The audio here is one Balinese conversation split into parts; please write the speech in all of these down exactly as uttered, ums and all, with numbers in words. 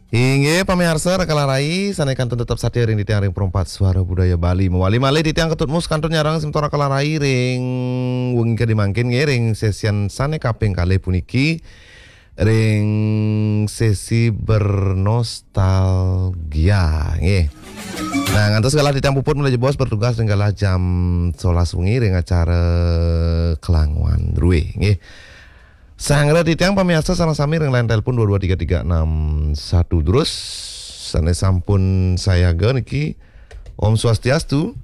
Inggih, pamiarsa, Rakala Rai, sané kantun tetep satia ring titiang ring Perempat Suara Budaya Bali. Mawali malih titiang Ketut Mus kantun nyarengin semeton Rakala Rai ring wengi kadi mangkin nggih, ring sesian sané kaping kalih puniki, ring sesi bernostalgia nggih. Nah, ngantos galah titiang puput malih jebos bertugas ring galah jam sebelas wengi ring acara Kelanguan Drué nggih. Sareng titiang pamiarsa sareng sami ring line telepon dua dua tiga tiga enam satu terus sané sampun sayaga niki. Om Swastiastu.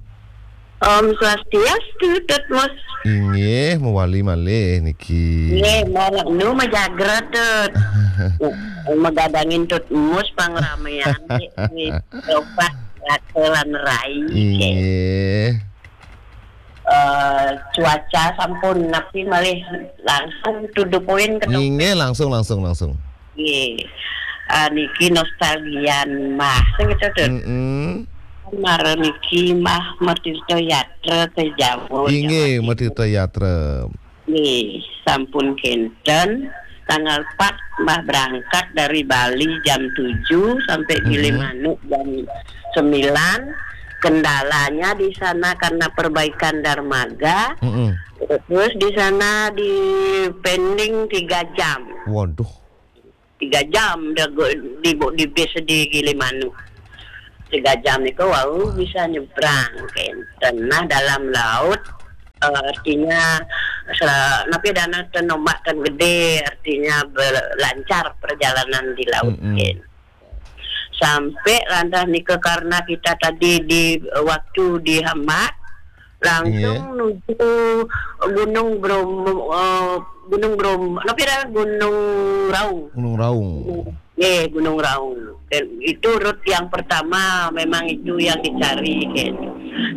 Om Swastiastu, Tut Mus. Inggih, mawali malih niki. Nggih, mara nu majagra, Tut. Magadangin Tut Mus pangramean di, di Lopak Raka lan Rai. Inggih. Eh, cuaca sampun napi malih langsung to the point, Ketut? Inggih, langsung, langsung, langsung. Nggih. Ah, niki nostalgia Mbah, sing Ketut. Mm-mm. Mara niki Mbah matirta yatra ke Jawa, Inggih, Jawa Timur. Matirta yatra. Nggih, sampun kenten. Tanggal empat Mbah berangkat dari Bali jam tujuh sampai Gili Mm-mm. Manuk jam sembilan. Kendalanya di sana karena perbaikan dermaga. Mm-mm. Terus di sana di pending tiga jam. Waduh. Tiga jam dah go-, di, di bis di Gili Manuk. Tiga jam itu wau bisa nyebrang ke tengah dalam laut. Eh, artinya se-, napi dana ten ombak ten gede, artinya be-, lancar perjalanan di laut, Mm-mm. Ken. Sampai lantas nika karena kita tadi di, eh, waktu dihambat, langsung Iya. nuju Gunung Bromo, eh, Gunung Bromo, napi dah? Gunung Raung. Gunung Raung. Nggih, Gunung Raung. Dan itu rute yang pertama, memang itu yang dicari, kan.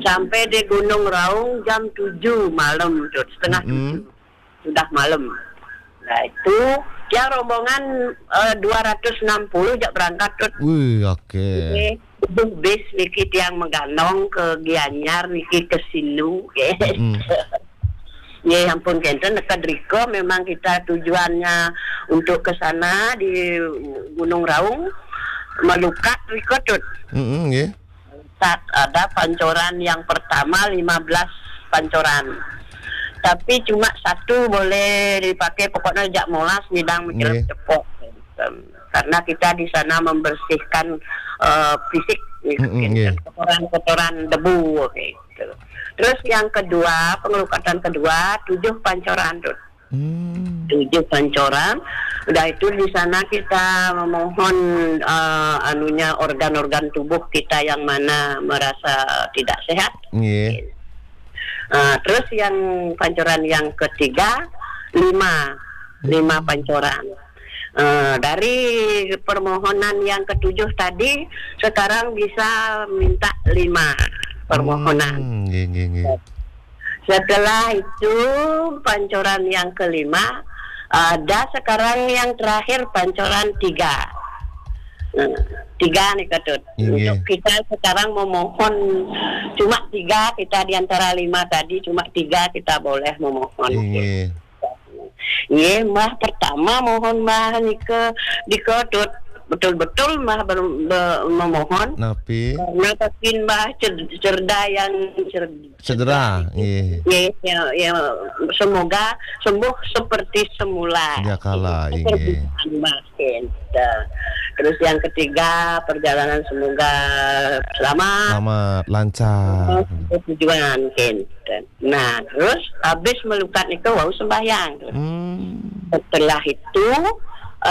Sampai di Gunung Raung jam tujuh malam, Tut, setengah Mm-mm. tujuh. Sudah malam. Nah, itu tiang rombongan, eh, dua ratus enam puluh jak berangkat, Tut. Wih, oke. Nggih, tujuh bis niki tiang mengganong ke Gianyar niki ke Sinu, nggih. Mm-mm. Nggih, ampun kenten, neked rika memang kita tujuannya untuk ke sana di Gunung Raung, melukat rika, Tut. Mm-mm, nggih. Sat-, ada pancoran yang pertama, lima belas pancoran. Tapi cuma satu boleh dipakai, pokoknya jak molas, midang, mecelep, Nggih. cepok. Karena kita di sana membersihkan, eh, fisik, Mm-mm, nggih. Kotoran-kotoran debu, gitu. Terus yang kedua, pengelukatan kedua, tujuh pancoran, Tut. Hmm. Tujuh pancoran. Udah itu di sana kita memohon, eh, anunya, organ-organ tubuh kita yang mana merasa tidak sehat. Nggih. Eh, terus yang pancoran yang ketiga, lima. Lima Hmm. pancoran. Eh, dari permohonan yang ketujuh tadi, sekarang bisa minta lima permohonan. Hmm, nggih, nggih, nggih. Setelah itu, pancoran yang kelima, ada sekarang yang terakhir, pancoran tiga. Nah, tiga nih, Ketut. Inggih. Untuk kita sekarang memohon cuma tiga, kita di antara lima tadi, cuma tiga kita boleh memohon. Inggih. Nggih, Mbah, pertama mohon Mbah nika, nika, Tut, betul-betul Mbah ber-, be-, memohon. Napi? Karena takin Mbah cer-, cerda yang cer-, Cedera, cerda. Nggih. Nggih, ya, ya, semoga sembuh seperti semula. Sedia kala, nggih. Permintaan Mbah kenten. Terus yang ketiga, perjalanan semoga selamat. Selamat, lancar. Sampai tujuan, kenten. Nah, terus habis melukat niku wau sembahyang, Tut. Hmm. Setelah itu,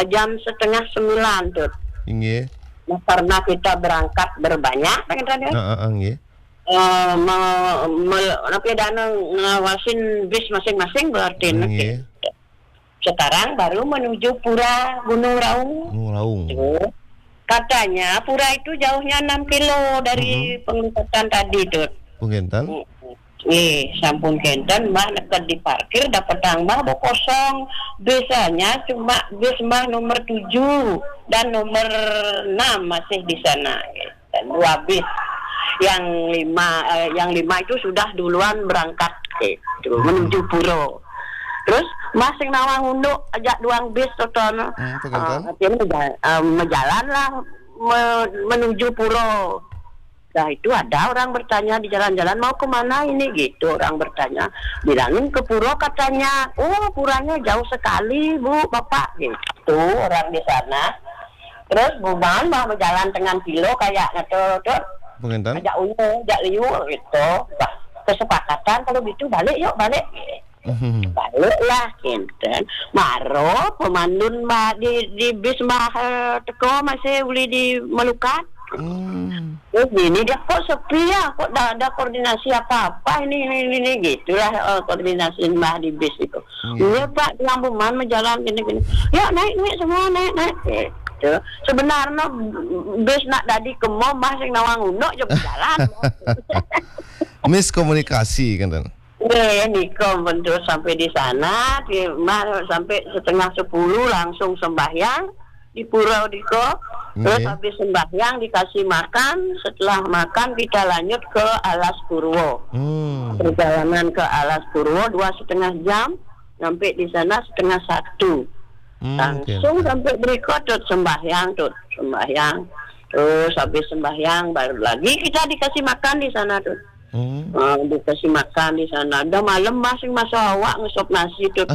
eh, jam setengah sembilan, Tut. Inggih. Nah, karena kita berangkat berbanyak, kan, Tut, ya? Heeh, nggih. Eh, me-, me-, napi dana ngawasin bis masing-masing berarti, Nggih. Sekarang baru menuju Pura Gunung Raung. Gunung Raung. Tuh. Katanya pura itu jauhnya enam kilo dari Mm-mm. penglukatan tadi, Tut. Pun kenten? Mm-mm. Eh, sampun kenten, Mbah neked diparkir, dapetang Mbah bo kosong. Bisanya cuma bis Mbah nomor tujuh dan nomor enam masih di sana. Dan dua bis. Yang lima, eh, yang lima itu sudah duluan berangkat, gitu, menuju pura. Terus Mbah sing nawang unduk ajak duang bis to, to. Hmm, apa, Kantan? Ah, akhirnya mejal-, ah, mejalanlah me-, menuju pura. Dah itu ada orang bertanya di jalan-jalan, "Mau ke mana ini?" gitu orang bertanya. Bilangin, "Ke pura," katanya. "Oh, puranya jauh sekali, Bu, Bapak," gitu orang di sana. Terus buman mah berjalan dengan pilo kayak gitu, tuh. Pengintan? Ajak unyu, ajak liu gitu. Bah, kesepakatan kalau gitu balik yuk, balik. Hmm. Baliklah, kinten. Maro pemandun mah di, di bis mah, eh, teko masih boleh dimelukat. Hmm. Terus ini dia, "Kok sepi ya? Kok dah ada koordinasi apa-apa ini, ini, ini, ini?" Gitulah, eh, koordinasi mah di bis itu. Iya. "Iya, Pak, yang buman menjalan gini-gini." "Ya, naik, naik semua, naik, naik." Gitu. Sebenarnya bis nak dadi kemo mah sing nawang unduk je berjalan. Miskomunikasi, kan, Tan? Nggih, nika pun terus sampai di sana, di, mah, sampai setengah sepuluh langsung sembahyang di pura diko. Terus nggih. Habis sembahyang dikasih makan, setelah makan kita lanjut ke Alas Purwo. Hmm. Perjalanan ke Alas Purwo dua setengah jam, sampai di sana setengah satu. Hmm, oke, langsung oke. Sampai berikut tuh sembahyang tuh, sembahyang. Terus habis sembahyang baru lagi kita dikasih makan di sana tuh. Hmm. Ah, dikasih makan di sana. Dah malam masing masa awak ngesop nasi tuh.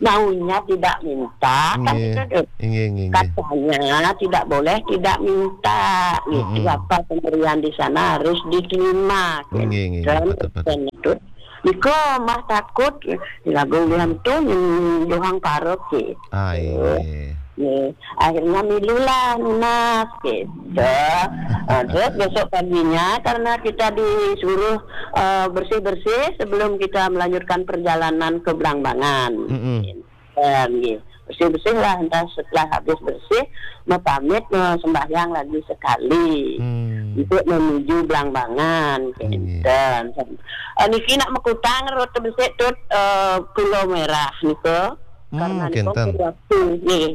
Maunya tidak minta, kan nggih. Gitu tuh. Nggih, nggih, nggih. Katanya tidak boleh tidak minta. Gitu. Mm-mm. Apa pemberian di sana harus diterima. Nggih, nggih, kan? Betul, betul. Dan itu. Niko mah takut, lagu liam tu yang dohang parok, gitu. Ah, iya. Ya, akhirnya milulah nunas gitu. Ah, terus besok paginya karena kita disuruh, eh, bersih-bersih sebelum kita melanjutkan perjalanan ke Blambangan. Mm-mm. Dan, gitu. Bersih-bersih lah, entah setelah habis bersih, mau pamit, mau sembahyang lagi sekali. Hmm. Untuk menuju Blambangan, iya. Kinten. Eh, niki nak mekutang rute besik tut, eh, Pulau Merah niko. Hmm, karena niko kinten. Waktu, nggih.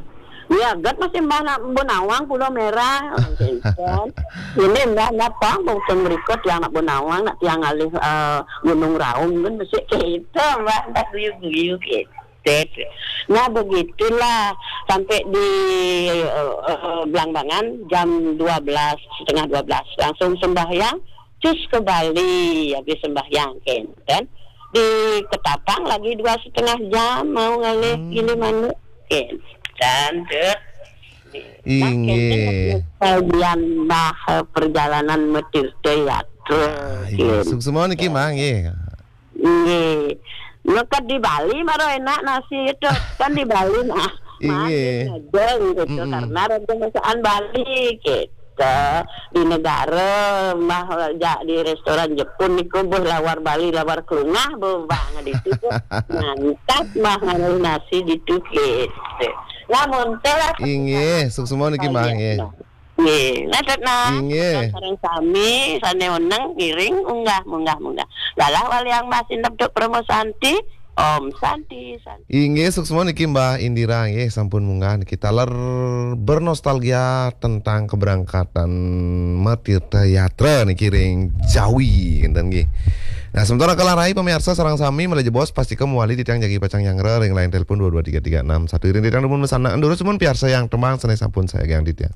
Ya, gat masih mbah nak Benawang Pulau Merah, kinten. Ini mbah napa, mungkin berikut yang nak Benawang, nak tiang alih, eh, Gunung Raung kan besik kita, mbah, tak guyu-guyu gitu. Nah, begitulah sampai di, eh, eh, Blambangan jam dua belas, setengah dua belas. Langsung sembahyang, cus ke Bali, habis sembahyang, kan. Di Ketapang lagi dua setengah jam, mau ngalih hmm. Gili manuk, kan. Dan tu, inggih. Nah, kan, bagian bah, eh, perjalanan metirta yatra, ah, iya. Kan. Suksma niki, Mang, nggih. Nggih. Leket di Bali maro enak nasi itu. Kan di Bali nah. Inggih. Manis aja gitu. Mm-mm. Karena ada masakan Bali gitu. Di negara mah ja-, di restoran Jepun niku beuh lawar Bali, lawar kelungah beuh banget itu tuh. Mantap mah nganu nasi gitu gitu. Lah montor lah. Inggih, suksma niki, Mang, nggih. Nggih, nah, Tetna. Inggih. Sareng sami, sane weneng, ngiring, unggah, munggah, munggah. Galah waliang mas indep duk Promo Santi, Om Santi, Santi. Inggih, suksma niki Mbah Indira, nggih, sampun munggah niki taler bernostalgia tentang keberangkatan Metirta Yatra niki ring Jawi, kinten nggih. Nah, sementara kalah rai, pamiarsa sareng sami, malih jebos, pastika mawali titiang jagi pacang nyanggra ring line telepon dua dua tiga tiga enam satu. Iring titiang dumun mesana, durus dumun piarsa yang tembang, sane sampun sayagiang titiang.